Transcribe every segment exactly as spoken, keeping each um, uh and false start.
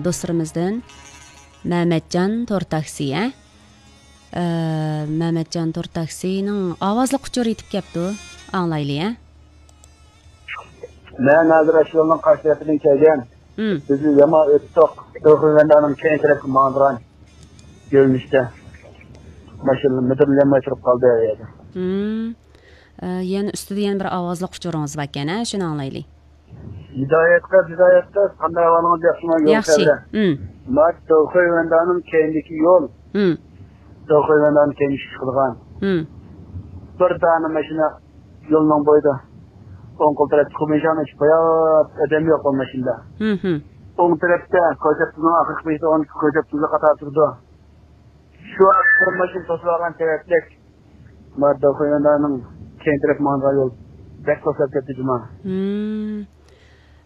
دوستلىرىمىزدىن مەمەتجان تور تاكسى، ھە؟ ئە، مەمەتجان تور تاكسىنىڭ ئاۋازلىق ئۇچۇرى يېتىپ كەپتۇ. ئاڭلايلى، ھە؟ مەن ھازىر ئاشۇ يولنىڭ قارشى تەرىپىدىن كەلگەن. مم. بىزنى يامان ئۆتتۇق. تۆخۈۋەندانىڭ كەينى تەرەپكە ماڭىدىغان يۆنىلىشتە ماشىنا مىدىرلىيالماي تۇرۇپ قالدى ئۇ يەردە. مم. ئە، يەنە ئۈستىدە يەنە بىر ئاۋازلىق ئۇچۇرىڭىز باركەن، ھە؟ شۇنى ئاڭلايلى. ھىدايەت قىز، ھىدايەت قىز، قانداق ئەھۋالىڭىز، ياخشىمۇ؟ يول ياخشى. خەۋىرى؟ مم. مانا، تۆخۈۋەندانىڭ كەينىدىكى يول. مم. تۆخۈۋەندانىڭ كەينىدىكى چىقىدىغان. مم. بىر دانە ماشىنا يولنىڭ بويىدا ئوڭ قول تەرەپتە كۇمىشان ئېچىپ قويۇپ، ئادەم يوق ئۇ ماشىنىدا. مم. ئوڭ تەرەپتە كوچاتنىڭ ئاخىرقى بېشىدا ئون ئىككى كوچات تۈزۈك قاتار تۇرىدۇ. شۇ بىر ماشىنا توسۇلغان سەۋەبلىك، مانا، تۆخۈۋەندانىڭ كەينى تەرەپ ماڭىدىغان يول بەك توسۇلۇپ كەتتى جۇما. مم.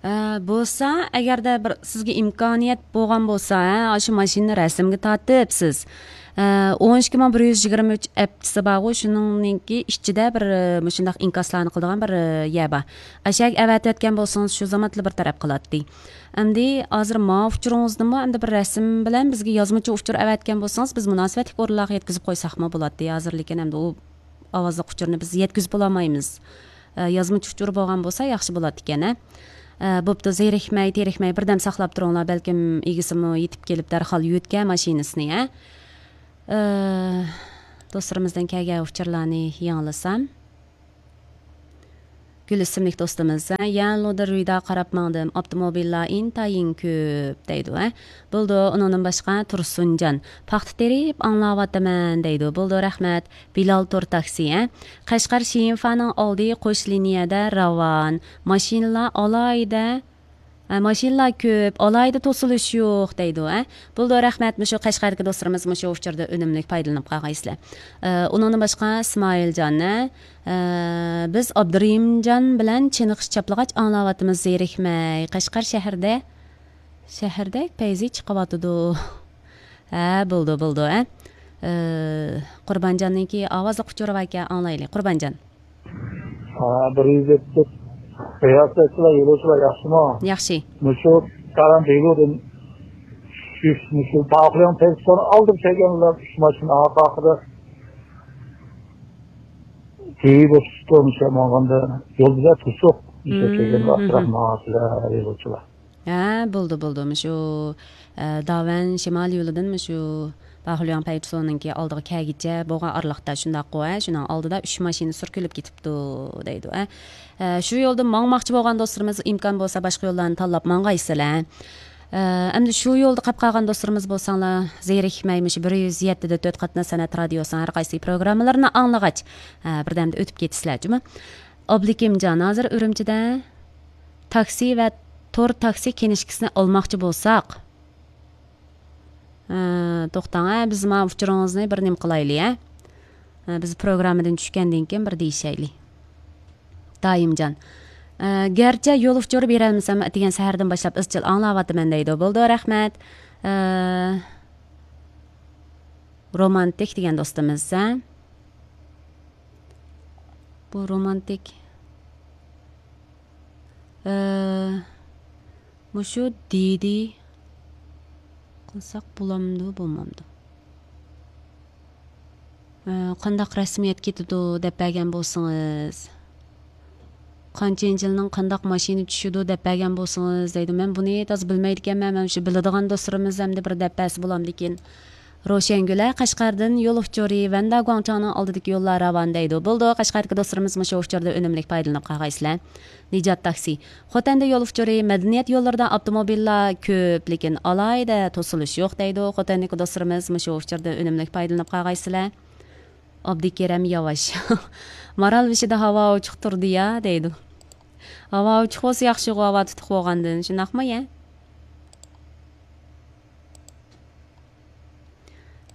ئە، بولسا، ئەگەردە بىر سىزگە ئىمكانىيەت بولغان بولسا، ھە، ئاشۇ ماشىنىنى رەسىمگە تارتىپ سىز، ئە، ئون ئىككى مىڭ بىر يۈز يىگىرمە ئۈچ ئەپتىسى بارغۇ، شۇنىڭنىڭكى ئىچىدە بىر، ئە، مۇشۇنداق ئىنكاسلارنى قىلىدىغان بىر، ئە، يەر بار. ئەشەگە ئەۋەتىۋەتكەن بولسىڭىز، شۇ زامانلا بىر تەرەپ قىلاتتى. ئەمدى ھازىر ماۋۇ ئۇچۇرىڭىزنىمۇ ئەمدى بىر رەسىم بىلەن بىزگە يازمىچە ئۇچۇر ئەۋەتكەن بولسىڭىز، بىز مۇناسىۋەتلىك ئورۇنلارغا يەتكۈزۈپ قويساقمۇ بولاتتى. ھازىر لېكىن ئەمدى ئۇ ئاۋازلىق ئۇچۇرنى بىز يەتكۈزۈپ بولالمايمىز. ئە، يازمىچە ئۇچۇر بولغان بولسا ياخشى بولاتتىكەن، ھە. ئە، بوپتۇ، زېرىكمەي، تېرىكمەي، بىردەم ساقلاپ تۇرۇڭلار، بەلكىم ئىگىسىمۇ يېتىپ كېلىپ دەرھال يۆتكە ماشىنىسىنى، ھە. ئە، دوستلىرىمىزدىن كەلگەن ئۇچۇرلارنى ياڭلىسام. گۈل ئىسىملىك دوستىمىز، ھە، يەنلۇدا رۇيدا قاراپ ماڭدىم، ئاپتوموبىللار ئىنتايىن كۆپ، دەيدۇ، ھە. بولىدۇ، ئۇنىڭدىن باشقا تۇرسۇنجان، پاختا تېرىپ ئاڭلاۋاتىمەن، دەيدۇ. بولىدۇ، رەھمەت. بىلال تور تاكسى، ھە. قەشقەر شىنفانىڭ ئالدى قوش لىنىيەدە راۋان. ماشىنىلار ئالاھىدە، ھە، ماشىنىلار كۆپ، ئالاھىدە توسۇلۇش يوق، دەيدۇ، ھە. بولىدۇ، رەھمەت. مۇشۇ قەشقەردىكى دوستلىرىمىز مۇشۇ ئۇچۇردا ئۈنۈملۈك پايدىلىنىپ قالغايسىلەر. ئە، ئۇنىڭدىن باشقا ئىسمائىلجان، ھە، ئە، بىز ئابدۇرېھىمجان بىلەن چېنىقىش چاپلىغاچ ئاڭلاۋاتىمىز، زېرىكمەي. قەشقەر شەھىرىدە، شەھەردەك پەيزى چىقىۋاتىدۇ. ھە، بولىدۇ، بولىدۇ، ھە. ئە، قۇربانجاننىڭكى ئاۋازلىق ئۇچۇرى باركەن، ئاڭلايلى. قۇربانجان. ھا، بىر يۈز يەتتە. رىياسەتچىلەر، يولۇچىلار ياخشىمۇ؟ ياخشى. مۇشۇ تاران دېلودىن چۈشۈش، مۇشۇ باخلياڭ تەكسىسىنىڭ ئالدىغا كەلگەنلەر ئۈچ ماشىنا ئارقا ئارقىدا. جۈيى بوشلۇقتا مۇشۇ ماڭغاندا يول بىزە توسۇق. مۇشۇ كەلگەندە ئاستىراق ماڭاسىلەر، يولۇچىلار. ھە، بولدى، بولدى. مۇشۇ، ئە، داۋەن شىمال يولىدىن مۇشۇ باخلياڭ پەيپسونىڭكى ئالدىغا كەلگىچە بولغان ئارىلىقتا شۇنداققۇ، ھە، شۇنىڭ ئالدىدا ئۈچ ماشىنا سۈركىلىپ كېتىپتۇ، دەيدۇ، ھە. ئە، شۇ يولدا ماڭماقچى بولغان دوستلىرىمىز ئىمكان بولسا باشقا يوللارنى تاللاپ ماڭغايسىلەر. ئە، ئەمدى شۇ يولدا قاپ قالغان دوستلىرىمىز بولساڭلار، زېرىكمەي مۇشۇ بىر يۈز يەتتە دە تۆت قاتناش سەنئەت رادىيوسىنىڭ ھەر قايسى پروگراممىلىرىنى ئاڭلىغاچ، ئە، بىردەمدە ئۆتۈپ كېتىسىلەر جۇمۇ. ئابلىكىمجان، ھازىر ئۈرۈمچىدە تاكسى ۋە تور تاكسى كىنىشكىسىنى ئالماقچى بولساق، ئە، توختاڭ، ھە، بىز مانا ئۇچۇرىڭىزنى بىر نېمە قىلايلى، ھە؟ ئە، بىز پروگراممىدىن چۈشكەندىن كېيىن بىر دېيىشەيلى. دائىمجان. ئە، گەرچە يول ئۇچۇرى بېرەلمىسەم، ئەتىگەن سەھەردىن باشلاپ ئىزچىل ئاڭلاۋاتىمەن، دەيدۇ. بولىدۇ، رەھمەت. ئە، رومانتىك دېگەن دوستىمىز، ھە؟ بۇ رومانتىك. ئە، مۇشۇ دىدى قىلساق بولامدۇ، بولمامدۇ؟ ئە، قانداق رەسمىيەت كېتىدۇ دەپ بەرگەن بولسىڭىز، قانچىنچى يىلنىڭ قانداق ماشىنا چۈشىدۇ دەپ بەرگەن بولسىڭىز دەيدۇ. مەن بۇنى تازا بىلمەيدىكەنمەن، مەن شۇ بىلىدىغان دوستلىرىمىز ئەمدى بىر دەپ بەرسە بولامدىكىن. روشەنگۈل، ھە، قەشقەردىن يول ئۇچۇرى ۋەندا گۇاڭچاڭنىڭ ئالدىدىكى يوللار راۋان دەيدۇ. بولىدۇ، قەشقەردىكى دوستلىرىمىز مۇشۇ ئۇچۇردا ئۈنۈملۈك پايدىلىنىپ قالغايسىلەر. نىجات تاكسى. خوتەندە يول ئۇچۇرى، مەدەنىيەت يوللىرىدا ئاپتوموبىللار كۆپ، لېكىن ئالاھىدە توسۇلۇش يوق دەيدۇ. خوتەندىكى دوستلىرىمىز مۇشۇ ئۇچۇردا ئۈنۈملۈك پايدىلىنىپ قالغايسىلەر. ئابدۇكېرەم ياۋاش. مارالبېشىدا ھاۋا ئوچۇق تۇرىدۇ يا، دەيدۇ. ھاۋا ئوچۇق بولسا ياخشىغۇ، ھاۋا تۇتۇق بولغاندىن، شۇنداقمۇ يا؟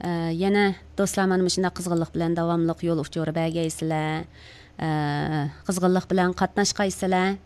ئە، يەنە دوستلار مانا مۇشۇنداق قىزغىنلىق بىلەن داۋاملىق يول ئۇچۇرى بەرگەيسىلەر. ئە، قىزغىنلىق بىلەن قاتناشقايسىلەر.